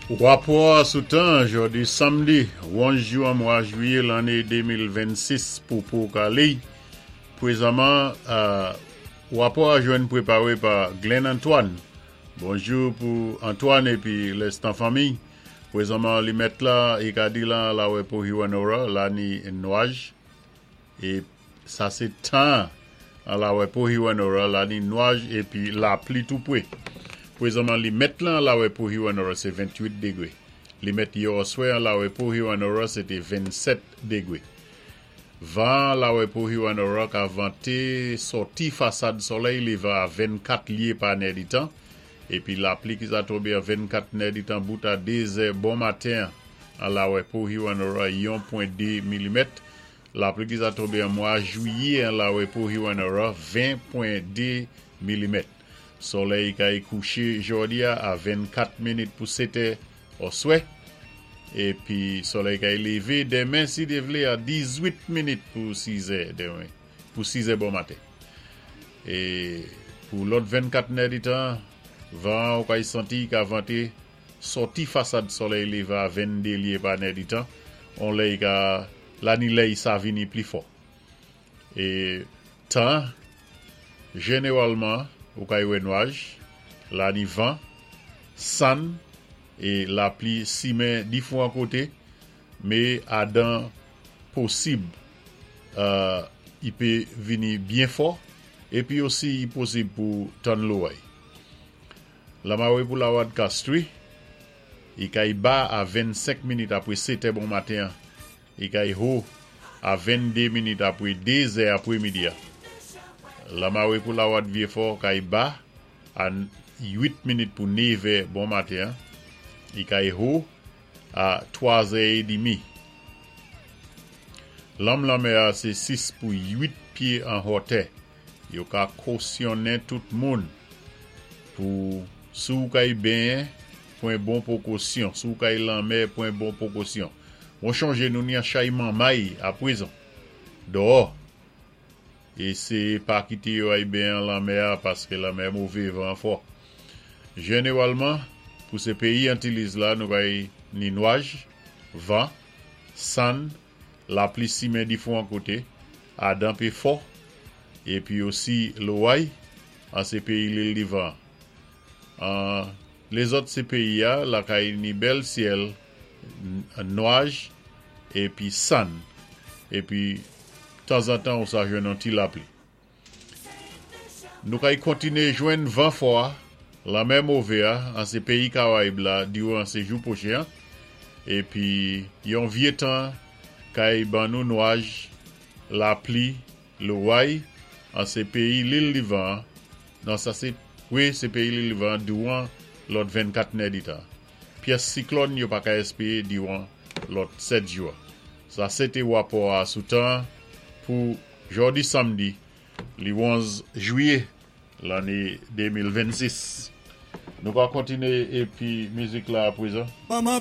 Wapò sou tan jòdi samdi 11 jou an mwa jwiyé lanné 2026 pou Port-Kali. Pwézanman, wapò a jwenn pwépawé pa Glenn Antoine. Bonjou pou Antoine épi lèstan fanmiy. Pwézanman li mèt la, i ka di la lawè pou Hewanorra, la ni nwaj. É sa sé tan an lawè pou Hewanorra, la ni nwaj épi lapli tou pwé. Pwézanman li mèt lan lawè pou Hewanorra sé 28 dégwé. Li mèt yè oswè an lawè pou Hewanorra sé té 27 dégwé. Van lawè pou Hewanorra ka vanté sòti fasad solèy lévan a 24 lyé pa nèditan, épi lapli ki sa tonbé an 24 nèditan bout a 2 zè bon maten an lawè pou Hewanorra 1.2 milimèt. Lapli ki sa tonbé an mwa jwiyé an lawè pou Hewanorra 20.2 milimèt. Solèy kay kouché jòdi a a 24 minit pou 7 oswè. Épi solèy kay lévé denmen si Dye vlé a 18 minit pou 6 è denmen, pou 6 è bon maten. É pou lòt 24 nèditan, van ou kay santi ka vanté sòti fasad solèy lévé a 22 lyé pa nèditan, on lè i ka la ni lè i sa vini pli fò. É tan, jénéwalman, ou kay wè nwaj, la ni van, sann, é lapli simen difwan koté, mé adan posib i pé vini byen fò, épi osi i posib pou tann loway. Lamawé pou Lawad Castries, i kay ba a 25 minit apwé 7 è bon maten, i kay ho a 22 minit apwé 2 zè apwé midi a. Lamawé pou Lawad Vieux-Fort kay ba a 8 minit pou 9 è bon maten, i kay ho a 3 zè é dimi. Lanm lanmè a sé 6 pou 8 pyé an hòtè. Yo ka kosyonnen tout moun pou si-w kay benyen, pwan bon pwékosyon. Si-w kay lanmè, pwan bon pwékosyon. Bon chonjé nou ni an chay manmay apwézan. Dòò. Éséyé pa kité yo ay benyen an lanmè a paské lanmè mové van fò. Jénéwalman, pou sé péyi Antilles la nou kay ni nwaj, van, sann, lapli simen difwan koté, adan pé fò, épi osi loway, an sé péyi Lil Divan. An lézòt sé péyi a, la kay ni bèl syèl, nwaj, épi sann, épi tanzantan ou sa jwenn an ti lapli. Nou kay kontiné jwenn van fò a, lanmè mové a, an sé péyi Karayib la diwan sé jou pwochen an, épi yon vyé tan kay ban nou nwaj, lapli, loway, an sé péyi Lil Divan, non sa sé, wi, sé péyi Lil Divan diwan lòt 24 nèditan. Pyès siklòn yo pa ka èspéwé diwan lòt 7 jou. Sa sé té wapò a sou tan pou jòdi samdi li 11 jwiyé lanné 2026. Nou ka kontiné épi mizik la apwézan.